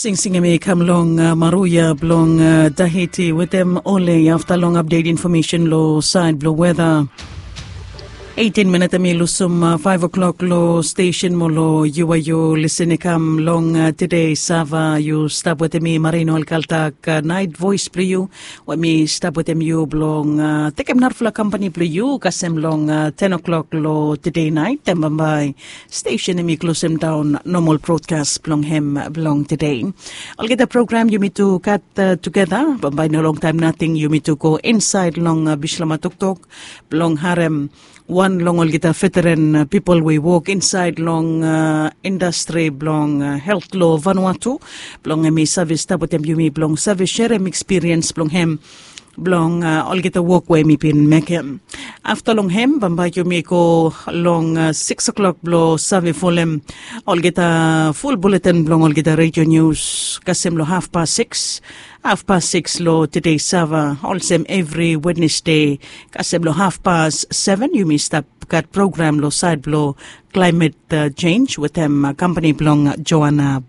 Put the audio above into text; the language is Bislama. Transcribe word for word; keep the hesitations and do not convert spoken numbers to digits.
Singsing em i kam long maruya blong tahiti wetem ole afta long apdet infomesen long saed blong weda. Eitin minit em i lusum faiv o'klok long stesen mo long yu we yu lisin i kam long tede sava yu stap wetem mi marino alkaltak naet voes blong yu, we mi stap wetem yu blong tekem narafala kampani blong yu kasem long ten o'klok long tede naet em bambae stesen em i klosem daon nomal brodkas blong hem blong tede. Olgeta program yumi tu gat tugeta bambae no longtaem nating yumi tu go insaed long bislama toktok blong harem wan long olgeta veteren pipol we i wok insaed long indastri blong helt long vanua tu blong em i save stap wetem yumi blong save serem ekspiriens blong hem blong olgeta wok we mi bin mekem. Afta long hem bambae yumi go long siks o'klok blong save folem olgeta ful buleten blong olgeta redio nius kasem long hafpas siks, hafpas siks long tede sava olsem evri wednesde kasem long hafpas seven yumi stap gat program long saed blong klaimet jenj wetem kampani blong joana